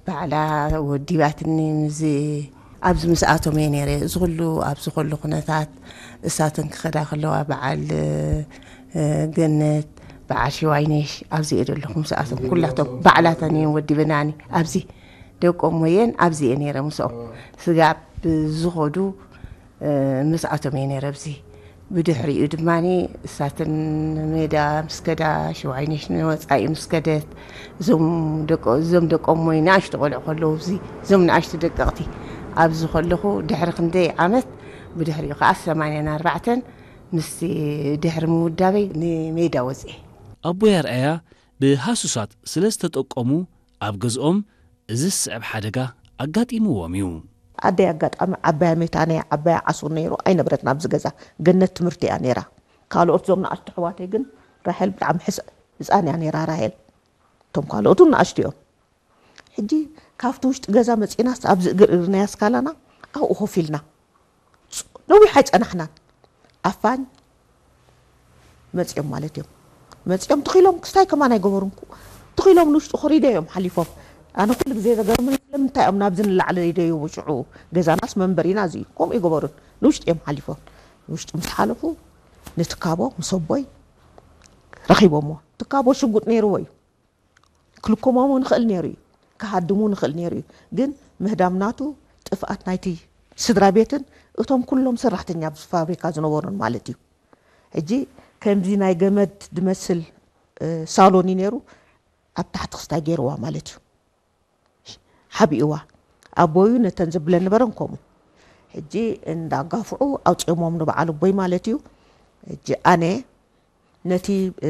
ባዕላ ወዲባትኒ። ምስ ኣብዚ ምስኣቶም እየ ነይረ። እዚ ኩሉ ኣብዚ ኩሉ ኩነታት እሳተን ክኸዳ ከለዋ፣ በዓል ገነት፣ በዓል ሽዋይነሽ፣ ኣብዚ እየ ዘለኹ ምስኣቶም ኩላቶም። ባዕላተን እየን ወዲበናኒ። ኣብዚ ደቆም ወየን ኣብዚ እየ ነይረ ምስኦም። ስጋብ ዝኸዱ ምስኣቶም እየ ነይረ ኣብዚ። ብድሕሪኡ ድማ እሳትን ሜዳ ምስ ከዳ፣ ሽዋይነሽ ንወፃኢ ምስ ከደት፣ እዞም ደቆ-፣ እዞም ደቆም ወይ ንኣሽቱ ቆልዑ ከለዉ፣ እዚ እዞም ንኣሽቱ ደቀቕቲ ኣብዚ ከለኹ፣ ድሕሪ ክንደይ ዓመት፣ ብድሕሪኡ ከዓ ሰማንያን ኣርባዕተን ምስ ድሕሪ ምውዳበይ ንሜዳ ወፅኤ። ኣቦይ ኣርኣያ ብሃሱሳት ስለ ዝተጠቆሙ፣ ኣብ ገዝኦም እዚ ዝስዕብ ሓደጋ ኣጋጢምዎም እዩ። ኣደይ ኣጋጣሚ ዓባያ ሜታ ነያ፣ ዓባያ ዓሱር ነይሩ፣ ኣይነበረትን ኣብዚ ገዛ። ገነት ትምህርቲ እያ ነይራ። ካልኦት ዞም ንኣሽቱ ኣሕዋተይ ግን፣ ራሄል ብጣዕሚ ሕስ-፣ ህፃን እያ ነይራ ራሄል። እቶም ካልኦቱ ንኣሽቱ እዮም። ሕጂ ካብቲ ውሽጢ ገዛ መፂናስ ኣብዚ እግሪ እግርናያ ስካላና ኣብኡ ኮፍ ኢልና። ነዊሕ ኣይፀናሕናን። ኣፋኝ መፂኦም ማለት እዮም። መፂኦም ትኺሎም ክስታይ ከማን ኣይገበሩን። ትኺሎም ንውሽጢ ኮሪደ እዮም ሓሊፎም። ኣነ ኩሉ ግዜ ዘገርመኒ ስለምንታይ እዮም ናብዚ ንላዕሊ ደይቡ ሽዑ? ገዛናስ መንበሪና እዚ እዩ። ከምኡ ይገበሩን። ንውሽጢ እዮም ሓሊፎም። ንውሽጢ ምስ ሓለፉ ንትካቦ ምስ ኣቦይ ረኺቦምዎ። ትካቦ ሽጉጥ ነይርዎ እዩ። ክልኮሞም ንኽእል ነይሩ እዩ። ክሃድሙ ንኽእል ነይሩ እዩ። ግን ምህዳም ናቱ ጥፍኣት ናይቲ ስድራ ቤትን እቶም ኩሎም ሰራሕተኛ ኣብዚ ፋብሪካ ዝነበሩን ማለት እዩ። ሕጂ ከምዚ ናይ ገመድ ድመስል፣ እ፣ ሳሎን እዩ ነይሩ። ኣብ ታሕቲ ክስታይ ገይርዋ ማለት እዩ። ሓቢእዋ። ኣቦዩ ነተን ዘብለን ነበረን ከምኡ። ሕጂ እንዳጋፍዑ ኣውፂኦሞም ንበዓል ኣቦይ ማለት እዩ። ሕጂ ኣነ ነቲ፣ እ፣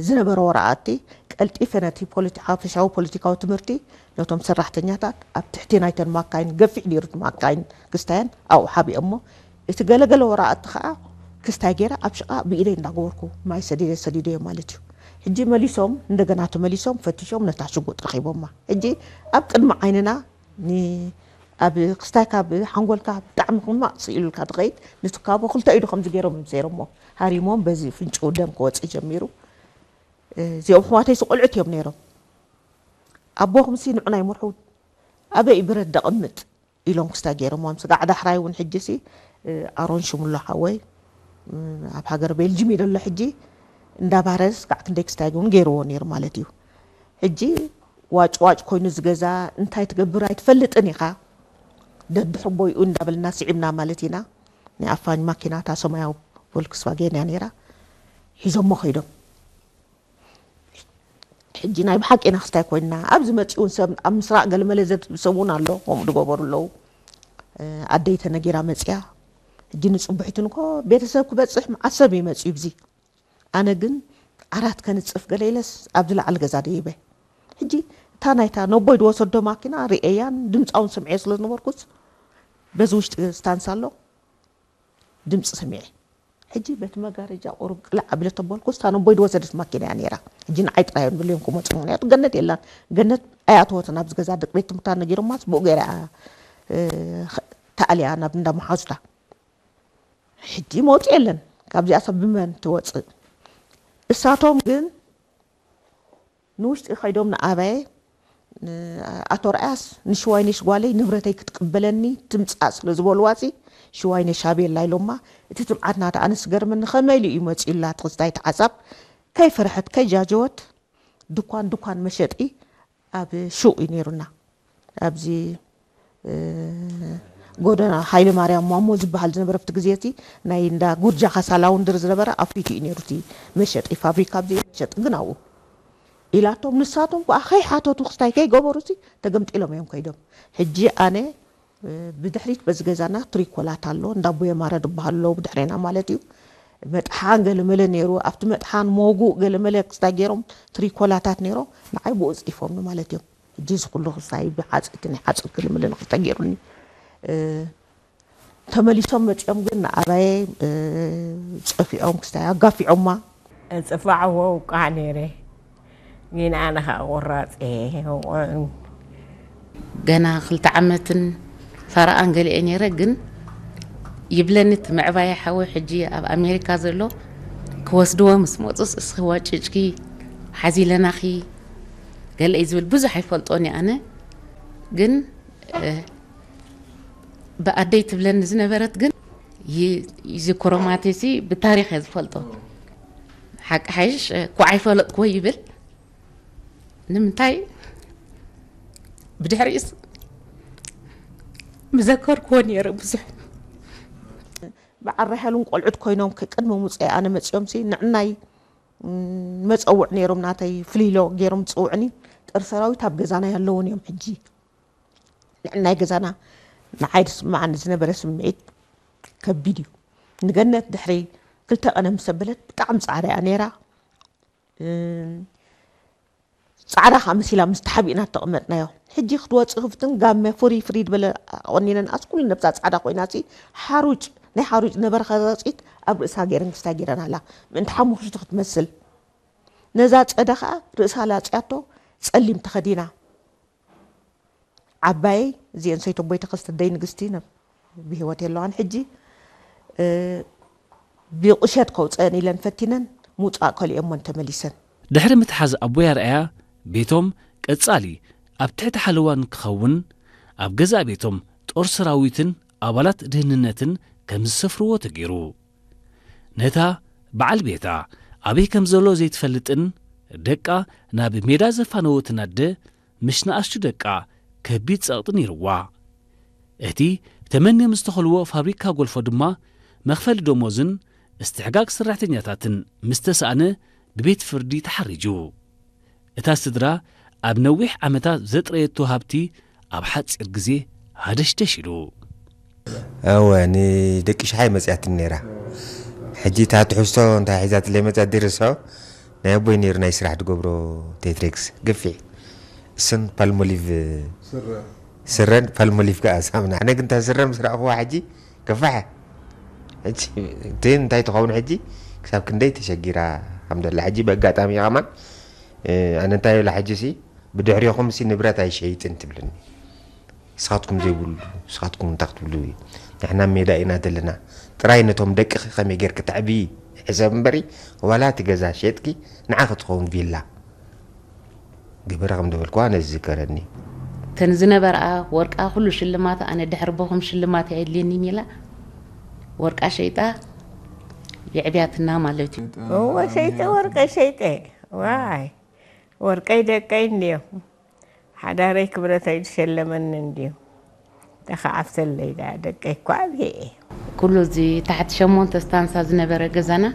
ዝነበረ ወረቓቕቲ ቀልጢፈ ነቲ ፖለቲ-፣ ሓፈሻዊ ፖለቲካዊ ትምህርቲ ነቶም ሰራሕተኛታት ኣብ ትሕቲ ናይተን ማካይን፣ ገፊሕ ነይሩ እቲ ማካይን ክስታየን ኣብኡ ሓቢኦሞ። እቲ ገለገለ ወረቓቕቲ ከዓ ክስታይ ገይረ ኣብ ሽቓ ብኢደይ እንዳገበርኩ ማይ ሰዲደ ሰዲደዮ ማለት እዩ። ሕጂ መሊሶም፣ እንደገና ተመሊሶም ፈቲሾም ነታ ሽጉጥ ረኺቦማ። ሕጂ ኣብ ቅድሚ ዓይንና ን-፣ ኣብ ክስታይ ካብ ሓንጎልካ ብጣዕሚ ሕማቕ ስኢሉልካ ትኸይድ። ንትካቦ ክልተ ኢዱ ከምዚ ገይሮም እዮም ሰይሮሞ። ሃሪሞም በዚ ፍንጭኡ ደም ክወፅእ ጀሚሩ። እዚኦም ኣሕዋተይሲ ቆልዑት እዮም ነይሮም። ኣቦኹምሲ ንዑና ይምርሑ፣ ኣበይ ብረት ደቕምጥ ኢሎም ክስታይ ገይሮሞም። ስጋዕ ዳሕራይ እውን ሕጂሲ፣ እ፣ ኣሮን ሽሙሎ ሓወይ፣ እ፣ ኣብ ሃገር ቤልጅም እዩ ዘሎ ሕጂ። እንዳባረስ ጋዕ ክንደይ ክስታይ እውን ገይርዎ ነይሩ ማለት እዩ። ሕጂ ዋጭ ዋጭ ኮይኑ ዝገዛ እንታይ ትገብር ኣይትፈልጥን ኢኻ። ደድሕቦይኡ እንዳበልና ስዒብና ማለት ኢና። ናይ ኣፋኝ ማኪና እታ ሰማያዊ ቮልክስቫጌን እያ ነይራ። ሒዞሞ ከይዶም። ሕጂ ናይ ብሓቂ ኢና ክስታይ ኮይንና። ኣብዚ መጺኡ እውን ሰብ ኣብ ምስራቕ ገለመለ ዘድህብ ሰብ እውን ኣሎ፣ ከምኡ ዝገበሩ ኣለዉ። እ፣ ኣደይ ተነጊራ መጺኣ። ሕጂ ንጽቡሒትን እኮ ቤተሰብ ክበጽሕ መዓት ሰብ እዩ መጺኡ ብዚ። ኣነ ግን ዓራት ከንጽፍ ገለ ኢለስ ኣብዚ ላዕሊ ገዛ ደይበ። ሕጂ እታ ናይታ ነቦይ ዝወሰዶ ማኪና ርእየያን ድምጻ እውን ሰምዐዮ ስለ ዝነበርኩስ በዚ ውሽጢ ስታንስ ኣሎ ድምጺ ሰሚዐ። ሕጂ በቲ መጋረጃ ቁሩብ ቅልዕ ኣቢለ ተበልኩስ እታ ነቦይ ዝወሰደት ማኪና እያ ነይራ። ሕጂ ንዓይ ጥራይ እዮም ድልዮም ክመጹ፣ ምኽንያቱ ገነት የላን። ገነት ኣይኣተወትን ኣብዚ ገዛ፣ ደቂ ቤት ትምህርታ ነጊሮማስ ብኡ ገይራ እያ፣ እ፣ ተኣልያ ናብ እንዳ መሓዙታ። ሕጂ መውጽኢ የለን። ካብዚኣ ሰብ ብመን ትወጽእ? እሳቶም ግን ንውሽጢ ከይዶም ንኣባየ፣ ን-፣ ኣቶ ርኣያስ ንሽዋይነሽ ጓለይ ንብረተይ ክትቅበለኒ ትምጻእ ስለ ዝበልዋሲ፣ ሽዋይነሽ ኣበየላ ኢሎማ። እቲ ትብዓት ናታ ኣነስ ገርመኒ፣ ከመይ ኢሉ እዩ መጺኡላ እቲ ክስታይ እቲ ሓሳብ? ከይፈርሐት፣ ከይጃጀወት፣ ድኳን፣ ድኳን መሸጢ ኣብ ሹቕ እዩ ነይሩና። ኣብዚ፣ እ፣ ጎደና ሃይለ ማርያም ማሞ ዝበሃል ዝነበረ ኣብቲ ግዜ እቲ ናይ እንዳ ጉርጃ ካሳ ላውንድሪ ዝነበረ ኣብ ፊቱ እዩ ነይሩ እቲ መሸጢ ፋብሪካ፣ ኣብዚ መሸጢ ግን ኣብኡ ኢላቶም። ንሳቶም ከኣ ከይሓተቱ ክስታይ ከይገበሩሲ ተገምጢሎም እዮም ከይዶም። ሕጂ ኣነ፣ እ፣ ብድሕሪት በዚ ገዛና ትሪኮላት ኣሎ፣ እንዳ ኣቦየ ማረ ዝበሃሉ ኣለዉ ብድሕሬና ማለት እዩ። መጥሓን ገለመለ ነይሩ፣ ኣብቲ መጥሓን መጉእ ገለመለ ክስታይ ገይሮም ትሪኮላታት ነይሮም፣ ንዓይ ብኡ ጽዲፎምኒ ማለት እዮም። ሕጂ እዚ ኩሉ ክስታይ ብሓጽ-፣ እቲ ናይ ሓጽር ገለመለ ንኽልተ ገይሩኒ። እ፣ ተመሊሶም መጺኦም ግን ንኣባየ፣ እ፣ ጸፊዖም ክስታይ ኣጋፊዖማ። እጽፋዕዎ ውቃዕ ነይረ፣ ግን ኣነ ኸኣ ቁራጽ እየ። ገና ክልተ ዓመትን ፈረቓን ገለ እየ ነይረ፣ ግን ይብለኒ እቲ ምዕባየ ሓወይ፣ ሕጂ ኣብ ኣሜሪካ ዘሎ፣ ክወስድዎ ምስ መጹስ እስኺ ዋጭጭኪ ሓዚለናኺ ገለ እዩ ዝብል። ብዙሕ ኣይፈልጦን እየ ኣነ። ግን ብኣደይ ትብለኒ ዝነበረት ግን ይዝክሮ ማቴሲ ብታሪክ እየ ዝፈልጦ። ሓቂ ሓይሽ ኩዓይ ፈለጥክዎ ይብል። ንምንታይ ብድሕሪኡስ ምዘከርክዎ ነይረ ብዙሕ። በዓል ራሄልን ቆልዑት ኮይኖም ቅድሚ ምውፀይ ኣነ መፅኦም ሲ ንዕናይ መፀውዕ ነይሮም ናተይ ፍሊሎ ገይሮም ዝፅውዕኒ። ጦር ሰራዊት ኣብ ገዛና ያለውን እዮም ሕጂ። ንዕናይ ገዛና ንዓይ ዝስምዓኒ ዝነበረ ስምዒት ከቢድ እዩ። ንገነት ድሕሪ ክልተ ቀነ ምስ ኣበለት ብጣዕሚ ፃዕዳ እያ ነይራ። ፃዕዳ ከዓ መሲላ ምስ ተሓቢእና ተቐመጥናዮ። ሕጂ ክትወፅእ ክፍትን ጋመ ፍሪ ፍሪ ዝበለ ቆኒነን ኣስ ኩሉ ነብሳ ፃዕዳ ኮይና ሲ ሓሩጭ ናይ ሓሩጭ ነበረ ከረፂት ኣብ ርእሳ ገይረን ክስታይ ገይረን ኣላ ምእንቲ ሓሙኽሽቲ ክትመስል። ነዛ ፀደ ከዓ ርእሳ ላፅያቶ ጸሊም ተኸዲና። ዓባየይ እዚአን ሰይተቦይ ተኸስተ ደይ ንግስቲ ብህይወት የለዋን ሕጂ። ብቑሸት ከውፀአን ኢለን ፈቲነን ምውፃእ ከሊኦሞን ተመሊሰን። ድሕሪ ምትሓዝ ኣቦይ ኣርኣያ ቤቶም ቀጻሊ ኣብ ትሕቲ ሓለዋ ንክኸውን ኣብ ገዛእ ቤቶም ጦር ሰራዊትን ኣባላት ድህንነትን ከም ዝሰፍርዎ ተገይሩ። ነታ በዓል ቤታ ኣበይ ከም ዘሎ ዘይትፈልጥን ደቃ ናብ ሜዳ ዘፋነወትን ኣደ ምስ ንኣሽቱ ደቃ ከቢድ ጸቕጢ ነይርዋ። እቲ ተመንዮም ዝተኸልዎ ፋብሪካ ጎልፎ ድማ መኽፈሊ ደሞዝን እስትሕጋግ ሰራሕተኛታትን ምስ ተሳእነ ብቤት ፍርዲ ተሓሪጁ። እታ ስድራ ኣብ ነዊሕ ዓመታት ዘጥረየቶ ሃብቲ ኣብ ሓጺር ግዜ ሃደሽደሽ ኢሉ። እወ ንደቂ ሽሓይ መፅያትን ነይራ። ሕጂ እታ ትሕዝቶ እንታይ ሒዛትለይ መፅያት ድርሶ ናይ ኣቦይ ነይሩ ናይ ስራሕ ትገብሮ ቴትሬክስ ገፊሕ እሱን ፓልሞሊቭ ስረን ፓልሞሊቭ ከዓ ሳምና። ኣነ ግን እታ ስረ ምስ ረእኽዋ ሕጂ ገፋሐ። ሕጂ እቲ እንታይ ትኸውን ሕጂ ክሳብ ክንደይ ተሸጊራ ከም ዘላ ሕጂ ብኣጋጣሚ ከማን ኣነ እንታይ ይብላ ሕጂ ሲ ብድሕሪኹም ሲ ንብረት ኣይሸይጥን ትብልኒ። ንስኻትኩም ዘይብሉ ንስኻትኩም እንታይ ክትብሉ ንሕና ሜዳ ኢና ዘለና ጥራይ ነቶም ደቅኺ ከመይ ጌርኪ ተዕብዪ ሕሰብ እምበሪ ዋላ እቲ ገዛ ሸጥኪ ንዓኺ ትኸውን ቪላ ግበሪ ከም ዝበልክዋ ኣነ ዝዝከረኒ። እተን ዝነበርኣ ወርቃ ኩሉ ሽልማት ኣነ ድሕሪ ቦኹም ሽልማት ኣየድልየኒን ኢላ ወርቃ ሸይጣ የዕብያትና ማለት እዩ። እወ ሸይጠ ወርቀ ሸይጠ ዋይ ወርቀይ ደቀይ እንድዮም ሓዳረይ ክብረተይ ዝሸለመኒ እንድዩ። ተኸዓብተለይ ደኣ ደቀይ እኳ ኣብየ እየ። ኩሉ እዚ ታሕቲ ሸሞንተ ስታንሳ ዝነበረ ገዛና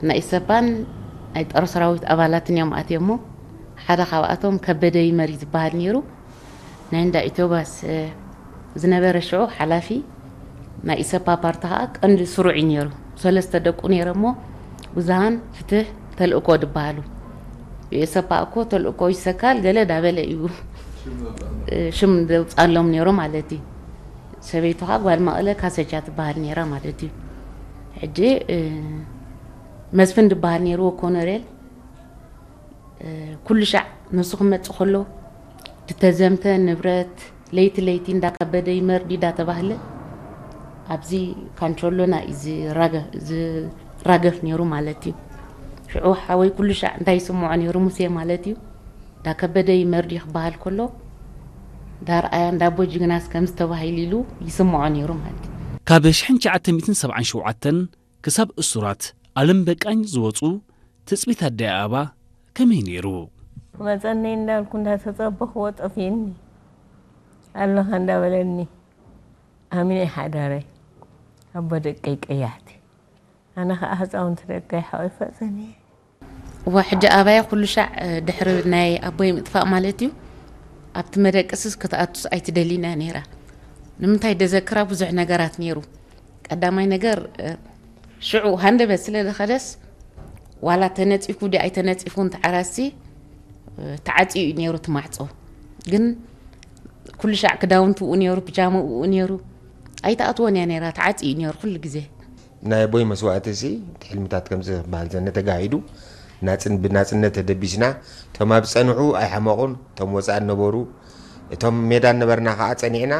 ናይ ኢሰፓን ናይ ጦር ሰራዊት ኣባላትን እዮም ኣትዮሞ። ሓደ ካብኣቶም ከበደ ይመር እዩ ዝበሃል ነይሩ። ናይ እንዳ ኢትዮባስ ዝነበረ ሽዑ ሓላፊ ናይ ኢሰፓ ፓርቲ ከዓ ቀንዲ ስሩዕ እዩ ነይሩ። ሰለስተ ደቁ ነይረ እሞ ብዙሃን ፍትሕ ተልእኮ ድበሃሉ ብኤሰፓ እኮ ተልእኮ ይሰካል ገለ ዳበለ እዩ ሽም ዘውፃሎም ነይሩ ማለት እዩ። ሰበይቱ ከዓ ጓል መቐለ ካሰቻ ትበሃል ነይራ ማለት እዩ። ሕጂ መስፍን ድበሃል ነይርዎ ኮነሬል ኩሉ ሻዕ ንሱ ክመፅእ ከሎ ዝተዘምተ ንብረት ለይቲ ለይቲ እንዳከበደ ይመርዲ እንዳተባህለ ኣብዚ ካንቸሎና እዩ ዝራገፍ ነይሩ ማለት እዩ። ሽዑ ሓወይ ኩሉ ሻዕ እንታይ ይስምዖ ነይሩ ሙሴ ማለት እዩ። እንዳከበደ ይመርዲ ክበሃል ከሎ እንዳርኣያ እንዳቦ ጅግናስ ከምዚ ተባሂሉ ኢሉ ይስምዖ ነይሩ ማለት እዩ። ካብ ሽሕን ትሽዓተ ሚእትን ሰብዓን ሸውዓተን ክሳብ እሱራት ኣለም በቃኝ ዝወፁ ትፅቢት ኣደይ ኣበባ ከመይ ነይሩ? ክመፀኒ እንዳልኩ እንዳተፀበኽዎ ጠፊእኒ ኣለኻ እንዳበለኒ ኣሚነ ሓዳረይ ኣቦ ደቀይ ቀያሕቲ ኣነ ከዓ ህፃውንቲ ደቀይ ሓወይ ፈፀኒ እወ ሕጂ ኣባየ ኩሉ ሻዕ ድሕሪ ናይ ኣቦይ ምጥፋእ ማለት እዩ ኣብቲ መደቀስስ ክትኣቱስ ኣይትደልን እያ ነይራ ንምንታይ ደዘክራ ብዙሕ ነገራት ነይሩ ቀዳማይ ነገር ሽዑ ሃንደበት ስለ ዝኸደስ ዋላ ተነፂፉ ድዩ ኣይተነፂፉን ተዓራሲ ተዓፂዩ እዩ ነይሩ እቲ ማዕፆ ግን ኩሉ ሻዕ ክዳውንቱ ኡ ነይሩ ፒጃምኡ ኡ ነይሩ ኣይተኣትዎን እያ ነይራ ተዓፂ እዩ ነይሩ ኩሉ ግዜ ናይ ኣቦይ መስዋእቲ ሲ ሕልምታት ከምዚ ክበሃል ዘነ ተጋሂዱ ናፅን ብናፅነት ተደቢስና እቶም ኣብ ዝፀንሑ ኣይሓመቑን እቶም ወፃኢ ነበሩ እቶም ሜዳ ነበርና ከዓ ፀኒዕና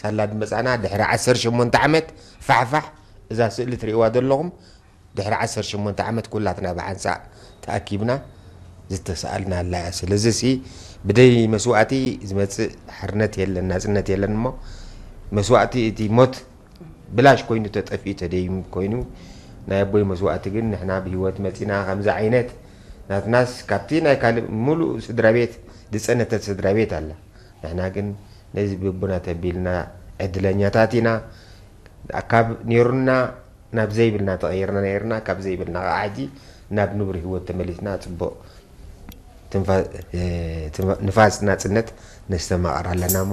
ሳላ ድመፃና ድሕሪ ዓሰርተ ሸሞንተ ዓመት ፋሕፋሕ እዛ ስእሊ ትርእይዋ ዘለኹም ድሕሪ ዓሰርተ ሸሞንተ ዓመት ኩላትና ብሓንሳእ ተኣኪብና ዝተሰኣልናላ እያ። ስለዚ ሲ ብደይ መስዋእቲ ዝመፅእ ሓርነት የለን፣ ናፅነት የለን። እሞ መስዋእቲ፣ እቲ ሞት ብላሽ ኮይኑ ተጠፊኡ ተደይሙ ኮይኑ፣ ናይ ኣቦይ መስዋእቲ ግን ንሕና ብህይወት መፂና። ከምዚ ዓይነት ናትናስ ካብቲ ናይ ካልእ ሙሉእ ስድራ ቤት ዝፀነተት ስድራ ቤት ኣላ። ንሕና ግን ነዚ ብቡና ተቢልና ዕድለኛታት ኢና። ካብ ነይሩና ናብ ዘይብልና ተቐይርና ነይርና፣ ካብ ዘይብልና ከዓ ሕጂ ናብ ንቡር ህይወት ተመሊስና ፅቡቕ ትንፋ- እ፣ ትንፋ- ንፋስ ናፅነት ነስተማቕር ኣለና እሞ።